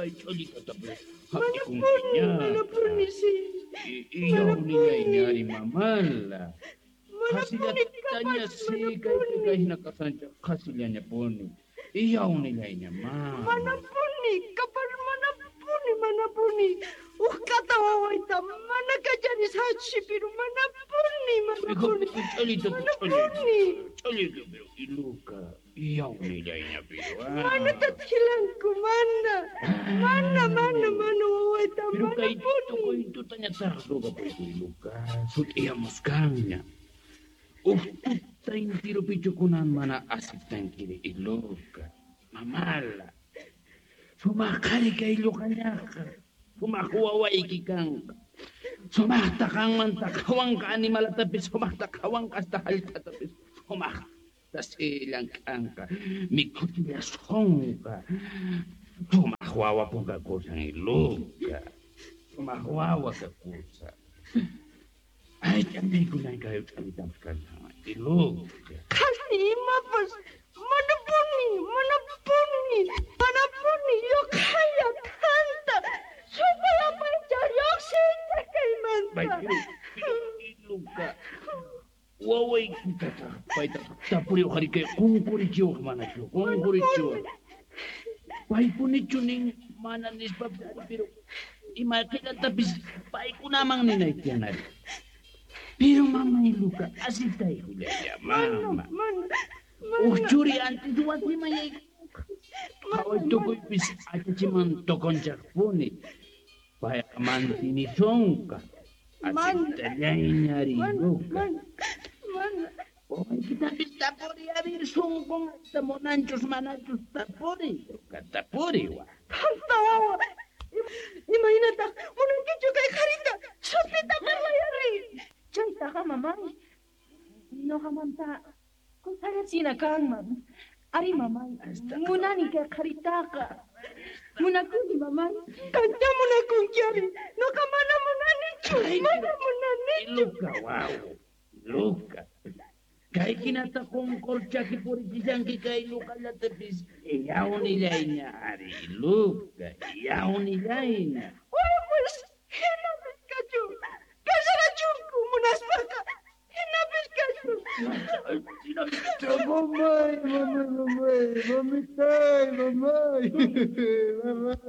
Kay ch'ullitatapas Manapuni, manapuni, sí. Iyawnillayña ari mamala. Manapuni, Qhasillataña capaz, sí kaypi manapuni. kay hina kasanchaq qhasillañapuni. Iyawnillayña mama. Manapuni, capaz, manapuni, manapuni. Uj k'ata wawayta mana kacharisaqchu, pero manapuni, manapuni. Ch'ullitata Manapuni. ch'ullita pero iluka iyawnillayña pero. Mana tatjilanku, mana. Mana, mana, mana wawayta, Pero kay manapuni. tukuy tutañataq rugapuyku iluka sut'iyamuskanña. Uj tuta intirupichu kunan mana asiptankiri iluka. Mamala. Sumaq qhari kay lluqañaqa. Sumaq wawayki kanqa. Sumaqta qanmanta qhawanqa animalatapis sumaqta qhawanqa hasta hallp'atapis sumaqta sillank'anqa. Mikhuchillasqonqa. Sumaq wawa kakusan iluka. Sumaq wawa kakusan. Ay, ch'amaykunan kay ch'amitapis kashan iluka. Qhasi imapas, manapuni, manapuni, manapuni, lluqhalla thanta, supay apaycha lluqsincha kaymanta. Pero iluka. Wawaykitataq paytataq tapuriwaq ari kay qunqurichiwaq manachu qunqurichiwaq. Paypunichu nin mana nispapis ari pero ima qillatapis paykunaman ninayki tiyan ari. Pero mama iluka asitaykullaya Mana, mama. mana, Uj mana. churi antis wasiman yaykunqa. Qhaway tukuypis achachiman tukunchaqpuni. Payqa mantinisonqa. Mana. Asiptallayña ari Mana, iluka. mana, mana. Wawaykitapis tapuri a ver sunqun munanchus manachus tapuri iluka tapuri wa. Thanta wawa. Imaynataq munankichu kay qharita sut'ita parlay ari. Chaytaqa mamay, noqamanta kusallachina kanman. Ari mamay, munani kay qharitaqa. Munakuni mamay. Qanta munakunki ari. Noqa mana munanichu, Ay, mana pero- munanichu. Iluka wawu, iluka. Kay hinata qunqur chaki purichishanki kay luqallatapis iyawnillayña ari iluka iyawnillayña. Wawas, hinapis kachun. Casarachunku munaspaqa. Hinapis kachun. Mamay, mamay, mamay, mamitay, mamay, mamay.